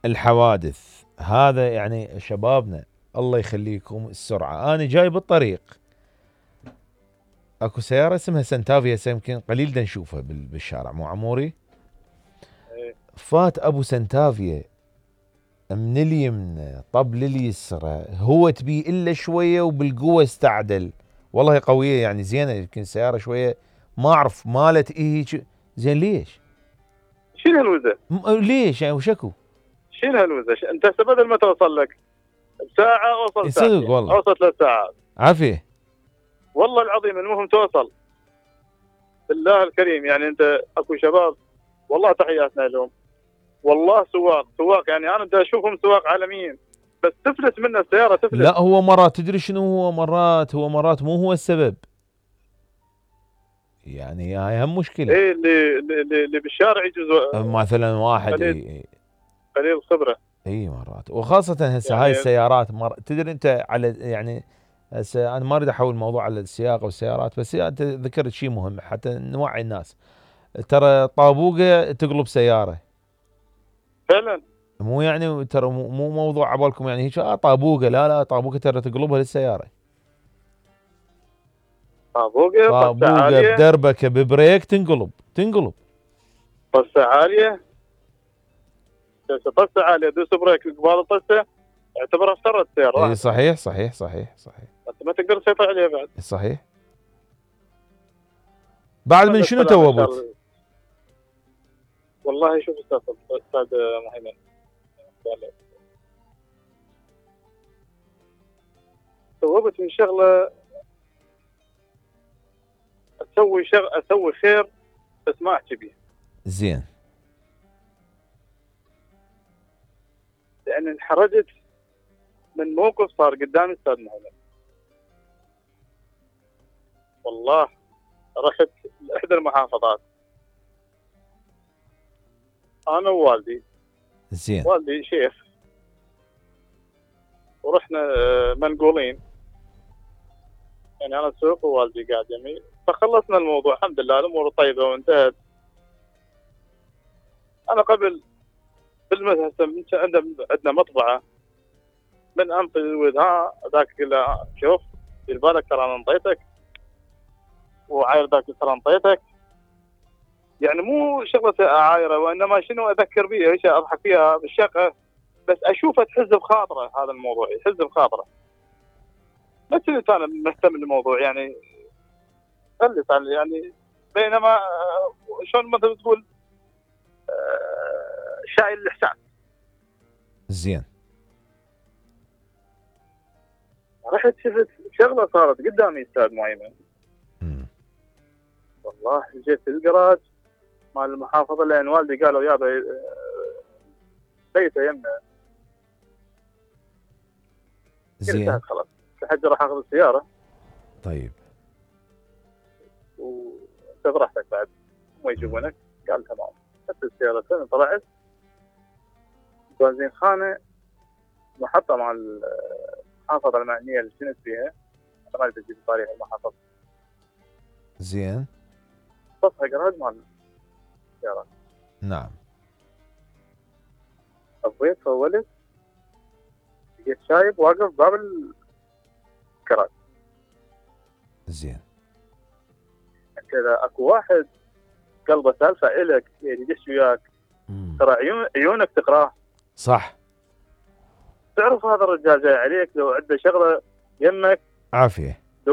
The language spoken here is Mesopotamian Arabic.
الحوادث هذا يعني شبابنا الله يخليكم السرعة. أنا جاي بالطريق اكو سيارة اسمها سنتافيا، يمكن قليل دا نشوفها بالشارع مو عموري. فات ابو سنتافيا من اليمنى طب لليسرى، هو تبي الا شوية وبالقوة استعدل، والله قوية يعني زينة، يمكن سيارة شوية ما اعرف مالت ايه زين. ليش؟ شيل هالوزة ليش يعني وشكو؟ شيل هالوزة انت هسه بدل ما توصل لك بساعة اوصل ساعتين، والله اوصل 3 ساعات عافية والله العظيم. المهم توصل بالله الكريم. يعني انت اكو شباب والله تحياتنا لهم، والله سواق يعني انا بدي اشوفهم سواق عالميين، بس تفلت منه السيارة تفلت. لا هو مرات تدري شنو، هو مرات مو هو السبب، يعني هاي هم مشكلة. ايه اللي بالشارع يجوز مثلا واحد قليل خبرة. اي مرات، وخاصة هسه يعني هاي السيارات تدري انت على يعني هسه انا ما اريد احول الموضوع على السياقة والسيارات، بس انت ذكرت شيء مهم حتى نوعي الناس. ترى طابوقة تقلب سيارة فعلا، مو يعني ترى مو موضوع عبالكم يعني هيك طابوقة، لا طابوقة ترى تقلبها للسيارة. طابوقة طسة عالية، بدربكة ببريك تنقلب طسة عالية، طسة عالية دوس بريك قبال الطسة اعتبرها افترت السيارة. اي صحيح انت ما تقدر تسيطر عليها بعد. صحيح. بعد من شنو توبت؟ والله شوف استاذ مهيمن، توبت من شغله اسوي خير بس ما احكي بيه. زين. لان انحرجت من موقف صار قدامي استاذ مهيمن. والله رحت لاحدى المحافظات انا ووالدي. زين. والدي شيخ، ورحنا منقولين، يعني انا اسوق ووالدي قاعد يمي، فخلصنا الموضوع الحمد لله الامور طيبه وانتهت. انا قبل بالمدرسه عندنا مطبعه، من انطي الود ذاك له شوف دير بالك ترى انا انطيتك، وعاير ذاك ترى انطيتك. يعني مو شغله عايره، وانما شنو اذكر بيها ايش اضحك فيها بالشقه، بس اشوفه تحز بخاطره. هذا الموضوع يحز بخاطره، بس انا مهتم بالموضوع يعني خلي يعني بينما شلون مثلا تقول شايل الاحساس. زين. رحت شفت شغله صارت قدامي استاذ مهيمن. والله جيت الجراج مال المحافظه، لان والدي قالوا يابا بيته يمنا. زين. خلاص لحد راح اخذ السياره. طيب. وانت براحتك بعد ما يجيبونك. قال تمام. اخذت السياره طلعت بنزين خانه محطه مال المحافظه المعنيه اللي كنت فيها، ما ادري اجيب تاريخ المحافظه. زين. صفها جراج مال السيارات. نعم. ابويت فولت لقيت شايب واقف باب الجراج. زين. انت اذا اكو واحد قلبه سالفه الك يدش وياك، ترى عيونك تقراه. صح. تعرف هذا الرجال جاي عليك، لو عنده شغله يمك عافيه